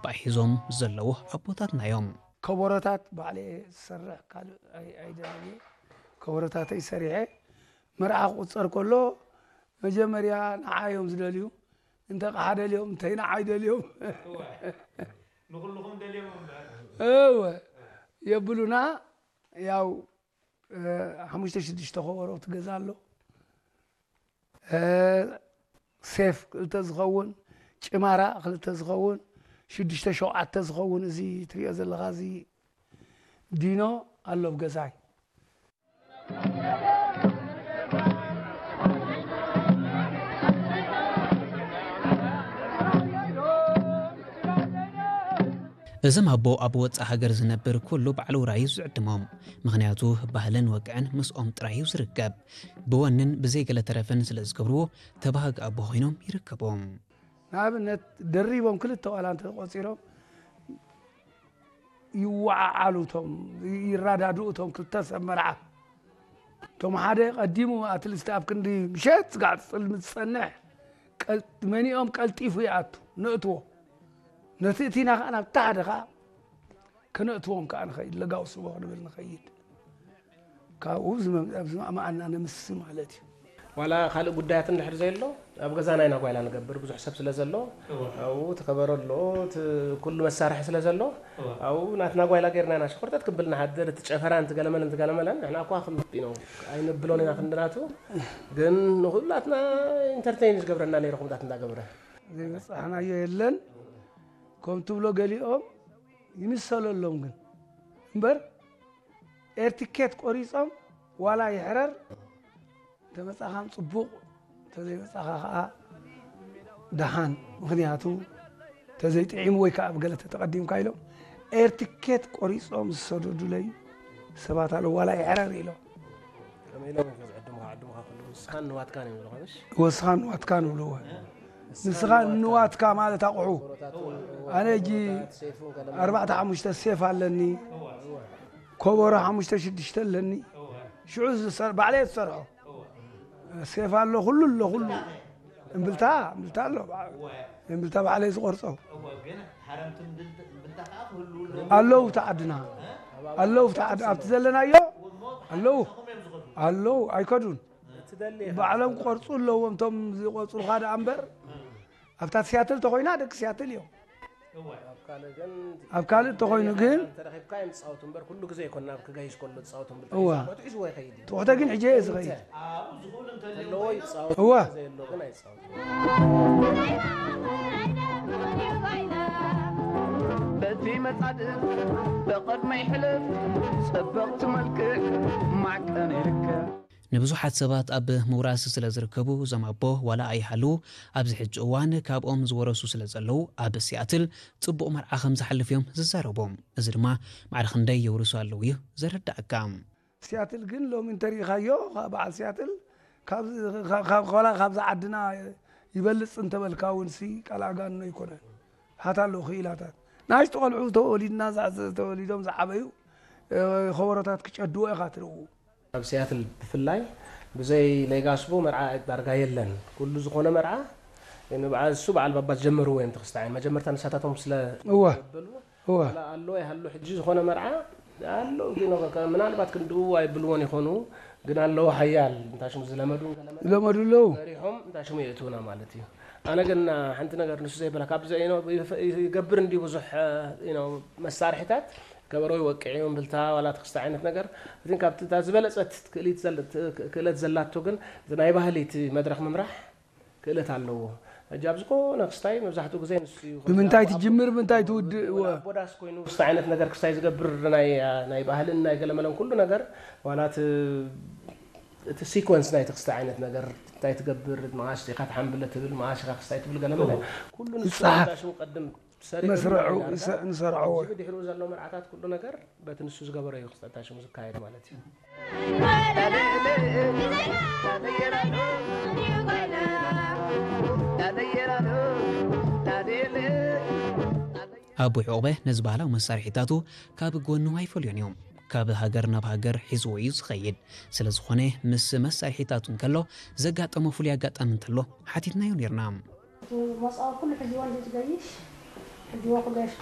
ጸባእ ሒዞም ዘለዉ ኣቦታትና እዮም። ከበሮታት ባዕለ ዝሰርሕ ካልእ ኣይ- ኣይደልን እየ። ከበሮታተይ ሰሪሐ መርዓ ክቑጸር ከሎ መጀመርያ ንዓይ እዮም ዝደልዩ። እንተ ቕሓ ደልዮም እንተይ ንዓይ ደልዮም እወ፣ ንኹልኹም ደልዮም እምበር። እወ የብሉና። ያው እ፣ ሓሙሽተ ሽዱሽተ ከበሮ ትገዛ ኣሎ። እ፣ ሴፍ ክልተ ዝኸውን፣ ጭማራ ክልተ ዝኸውን፣ ሽዱሽተ ሸውዓተ ዝኸውን፣ እዚ ትሪኦ ዘለኻ እዚ ዲኖ ኣሎ ኣብ ገዛይ። እዞም ኣቦ ኣብ ወጻእ ሃገር ዝነብር ኩሉ ባዕሉ ራዩ ዝዕድሞም። ምኽንያቱ ባህልን ወግዕን ምስኦም ጥራይ እዩ ዝርከብ። ብወንን ብዘይ ገለ ተረፍን ስለ ዝገብርዎ ተባሃጊ ኣቦ ኮይኖም ይርከቦም። ንኣብነት ደሪቦም ክልተ ዋላ እንተቆጺሮም ይወዓዓሉ፣ እቶም ይራዳድኡ፣ እቶም ክልተ ሰብ መርዓ። እቶም ሓደ ቀዲሙ ኣትሊስት ኣብ ክንዲ ምሸት ስጋዕ ትጽልም ዝጸንሕ ቀል- መኒኦም ቀልጢፉ ይኣቱ፣ ነእትዎ። ነቲ እቲና ከኣ ናብቲ ሓደ ከኣ ከነእትዎም ከኣ ንኸይድ፣ ለጋው ስቦ ክንብል ንኸይድ። ካብኡ ዝመ- ኣብ ዝማእማኣና ነምሲ ማለት እዩ። ዋላ ካልእ ጉዳያት እንድሕር ዘየሎ ኣብ ገዛና ኢና ጓይላ ንገብር፣ ብዙሕ ሰብ ስለ ዘሎ። እወ። ኣብኡ እቲ ከበሮ ኣሎ፣ እቲ ኩሉ መሳርሒ ስለ ዘሎ። እወ። ኣብኡ ናትና ጓይላ ጌርና ኢና ሸኮርተት ክብል ንሓድር። እቲ ጨፈራን እቲ ገለመለን፣ እቲ ገለመለን ንሕና እኳ ክምጥ ነው ኣይንብሎን ኢና ክንድናቱ። ግን ንኹላትና ኢንተርቴይን ዝገብረና ነይሩ፣ ከምታት እንዳገብረ። ዘይበጻሕናዮ የለን። ከም ትብሎ ገሊኦም ይምሰለሎም ግን እምበር ኤርቲኬት ቆሪጾም ዋላ ይሕረር እንተመጻኻም ጽቡቕ፣ እንተዘይመጻኻ ከኣ ደሓን። ምኽንያቱ እንተዘይጥዒሙ ወይ ከኣ ብገለ ተተቐዲምካ ኢሎም ኤርቲኬት ቆሪጾም ዝሰደዱለይ ሰባት ኣለዉ፣ ዋላ ይሕረር ኢሎም። ከመይ ኢሎም እዮም ዝዕድሙኻ? ዕድሙኻ ኩሉ ንስኻን ንዋትካን እዮም ዝብሉኻ፣ ምሽ? ወስኻን ንዋትካን ይብልዎ። ንስኻ ንዋትካ ማለት ኣቑሑ። ኣነ ሕጂ ኣርባዕተ ሓሙሽተ ሴፍ ኣለኒ፣ ኮቦሮ ሓሙሽተ ሽዱሽተ ኣለኒ። ሽዑ ዝሰር- ባዕለይ ዝሰርሖ ሴፍ ኣሎ፣ ኩሉ ኣሎ፣ ኩሉ እምብልታ እምብልታ ኣሎ። እምብልታ ባዕለይ ዝቆርጾ። ኣለዉ እቲ ዓድና፣ ኣለዉ እቲ ዓድ- ኣብቲ ዘለናዮ ኣለዉ፣ ኣለዉ ኣይከዱን። ባዕሎም ክቆርጹ ኣለዎም፣ እቶም ዝቆጽሩኻ ደኣ እምበር። ኣብታ ሲያትል ተኾይና ደቂ ሲያትል እዮም። ኣብ ካልእ ግን ኣብ ካልእ ተኾይኑ ግን ተረኺብካ እዮም ዝጻወቱ እምበር፣ ኩሉ ግዜ ኣይኮን ናብ ክጋይሽ ከሎ ዝጻወቱ እምበር፣ እዋ። ተሒዝዎ ይኸይድ እዩ። ትሑተ ግን ሕጂ እየ ዝኸይድ። ኣለዎ ይጻወቱ፣ እዋ። ዘየሎ ግን ኣይጻወቱ። በቲ መጻድቕ ብቕድመይ ሕለፍ፣ ጽብቕቲ መልክዕ ማዕቀን ይርከብ። ንብዙሓት ሰባት ኣብ ምውራስ ስለ ዝርከቡ፣ እዞም ኣቦ ዋላ ኣይሃልዉ፣ ኣብዚ ሕጂ እዋን ካብኦም ዝወረሱ ስለ ዘለዉ፣ ኣብ ሲያትል ጽቡቕ መርዓ ከም ዝሓልፍ እዮም ዝዛረቡ። እዚ ድማ ማዕረ ክንደይ የውርሱ ኣለዉ እዩ ዘረዳእካ። ሲያትል ግን ሎሚ እንተሪኢኻዮ፣ ካብ በዓል ሲያትል፣ ካብ- ካብ- ካብ- ዋላ ካብዛ ዓድና ይበልጽ እንተበልካ እውን ሲ ቃል ኣጋንኖ ኣይኮነን። ሃት ኣለዉ ክኢላታት። ንኣሽቱ ቆልዑ ተወሊድና፣ ዝዓ- ተወሊዶም ዝዓበዩ፣ እ፣ ከበሮታት ክጨድዎ ኢኻ ትርእዉ። ኣብ ሲያትል ብፍላይ ብዘይ ሌጋስቦ መርዓ ዳርጋ የለን። ኩሉ ዝኾነ መርዓ ንበዓል እሱ በዓል ባባ ዝጀመርዎ እዮም። ተክስታይ መጀመርታ ንሳታቶም ስለ እወ። ዘበሉ እወ። ዋላ ኣሎ ይሃሉ ሕጂ ዝኾነ መርዓ ኣሎ፣ ግን ከ- ምናልባት ክንድኡ ኣይብልዎን ይኾኑ፣ ግን ኣለዉ ሓያል እንታሽሙ ዝለመዱ ለመዱ ኣለዉ። መሪሖም እንታሽሙ የእትውና ማለት እዩ። ኣነ ግን ሓንቲ ነገር ንሱ ዘይበላ ካብዚ ኖ ይገብር እንዲሁ ብዙሕ ኖ መሳርሒታት ከበሮ ይወቅዕ እዩ፣ እምብልታ ዋላ ተክስተ ዓይነት ነገር። ግን ካብቲ እታ ዝበለጸት ክእሊት ዘለ- ክእለት ዘላቶ ግን እቲ ናይ ባህሊ እቲ መድረኽ ምምራሕ ክእለት ኣለዎ። ሕጂ ኣብ ዝኾነ ክስታይ መብዛሕትኡ ግዜ ንሱ እዩ። ብምንታይ ትጅምር፣ ብምንታይ ትውድእ? ወላ ኣቦዳስ ኮይኑ ክስታይ ዓይነት ነገር ክስታይ ዝገብር ናይ፣ ናይ ባህልን ናይ ገለመለን ኩሉ ነገር፣ ዋላ እቲ፣ እቲ ሲኮንስ ናይቲ ክስታይ ዓይነት ነገር፣ እንታይ ትገብር፣ መዓስ ኢኻ ትሓምብለ ትብል፣ መዓስ ኢኻ ክስታይ ትብል ገለመለ፣ ኩሉ ንሱ ይጸሓፍ። ሽሙ ቀድም ሰሪዑ መስርዑ ይዳርጋ። ንሰ-፣ ንሰርዖ። እዚ ብድሕሪኡ ዘሎ መርዓታት ኩሉ ነገር በቲ ንሱ ዝገበሮ እዩ ክስታይ ሽሙ ዝካየድ ማለት እዩ። ኣቦይ ዑቕበ ነዚ ባህላዊ መሳርሒታቱ ካብ ጎኑ ኣይፈልዮን እዩ። ካብ ሃገር ናብ ሃገር ሒዝዎ እዩ ዝኸይድ። ስለ ዝኾነ ምስ መሳርሒታቱ እንከሎ ዘጋጠሞ ፍሉይ ኣጋጣሚ እንተሎ ሓቲትናዮ ኔርና። እቲ መጻወ ኩሉ ሕጅዎ እንዲ ዝገይሽ፣ ሕጅዎ ክገይሽ